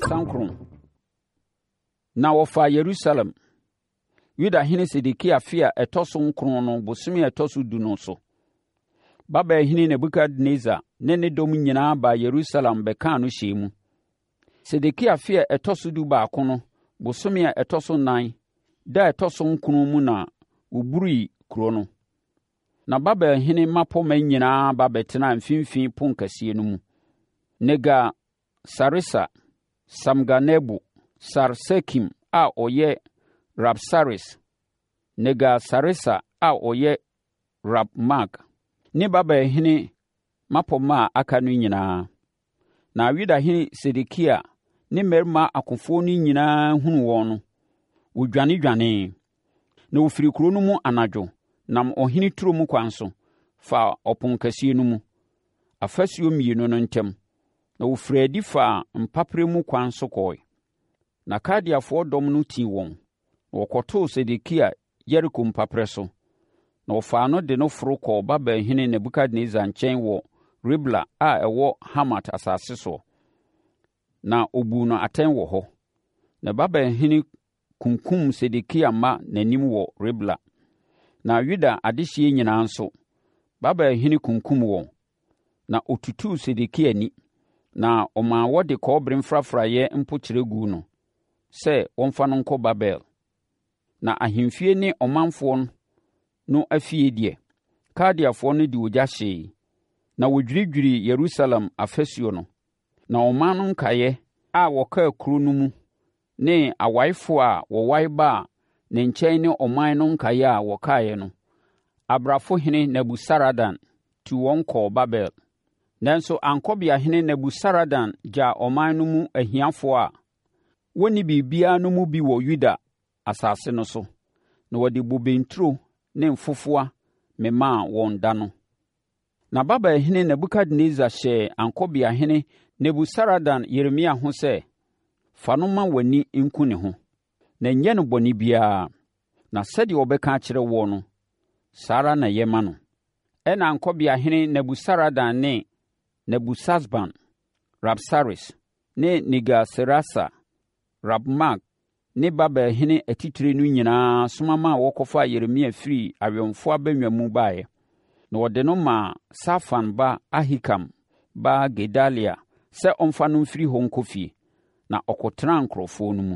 39. Na wɔfaa Yerusalem, Yudahene Sedekia afe a ɛtɔ so nkron no bosome a ɛtɔ so du no so. Babelhene Nebukadnessar ne ne dɔm nyinaa baa Yerusalem bɛkaa no hyɛɛ mu. Sedekia afe a ɛtɔ so 11 no bosome a ɛtɔ so nan da a ɛtɔ so nkron mu na wɔburii kuro no. Na Babelhene mmapɔmma nyinaa ba bɛtenaa mfimfini ponkɛseɛ no mu. Nergal-Sareser, Samgar-Nebo, Sar-Sekim a ɔyɛ Rab-Saris, Nergal-Sareser a ɔyɛ Rab-Mag, ne Babelhene mmapɔmma a aka no nyinaa. Na Yudahene Sedekia ne mmarima akofoɔ no nyinaa hunuu wɔn no, wɔdwanedwanee. Na wɔfirii kuro no mu anadwo nam ɔhene turom kwan so faa ɔponkɛseɛ no mu, afasuo mmienu no ntam, na wɔfirii adi faa mpaperɛ mu kwan so kɔe. Na Kaldeafoɔ dɔm no tii wɔn, na wɔkɔtoo Sedekia Yeriko mpaperɛ so, na wɔfaa no de no foro kɔɔ Babelhene Nebukadnessar nkyɛn wɔ Ribla a ɛwɔ Hamat asase soɔ, na ɔbuu no atɛn wɔ hɔ. Na Babelhene kunkumm Sedekia mma n'anim wɔ Ribla. Na Yuda adehyeɛ nyinaa nso, Babelhene kunkumm wɔn. Na ɔtutuu Sedekia ani, na ɔmaa wɔde kɔbere mfrafraeɛ mpokyerɛ guu no sɛ wɔmfa no nkɔ Babel. Na ahemfie ne ɔmanfoɔ no afie deɛ, Kaldeafoɔ no de ogya hyee, na wɔdwiridwirii Yerusalem afasuo no. Na ɔman no nkaeɛ a wɔkaa kuro no mu ne awaefoɔ a wɔwae baa ne nkyɛn ne ɔman no nkaeɛ a wɔkaeɛ no, abrafohene Nebusaradan tuu wɔn kɔɔ Babel. Nanso ankɔbeahene Nebusaradan gyaa ɔman no mu ahiafoɔ a wɔnni biribiara no mu bi wɔ Yuda asase no so, na wɔde bobe nturo ne mfofowa memaa wɔn da no. Na Babelhene Nebukadnessar hyɛɛ ankɔbeahene Nebusaradan Yeremia ho sɛ, Fa no ma w'ani nku ne ho, na nyɛ no bɔne biara, na sɛdeɛ ɔbɛka akyerɛ woɔ no, saa ara na yɛ ma no. Ɛnna ankɔbeahene Nebusaradan ne Nebusasban, Rabsaris, ne Nergal-Sareser, Rab-Mag, ne Babel hene atitire no nyinaa soma maa wɔkɔfaa Yeremia firii awɛmfoɔ abannwa mu baeɛ, na wɔde no maa Safan ba Ahikam ba Gedalia sɛ ɔmfa no mfiri hɔ nkɔ fie, na ɔkɔtenaa nkurɔfoɔ no mu.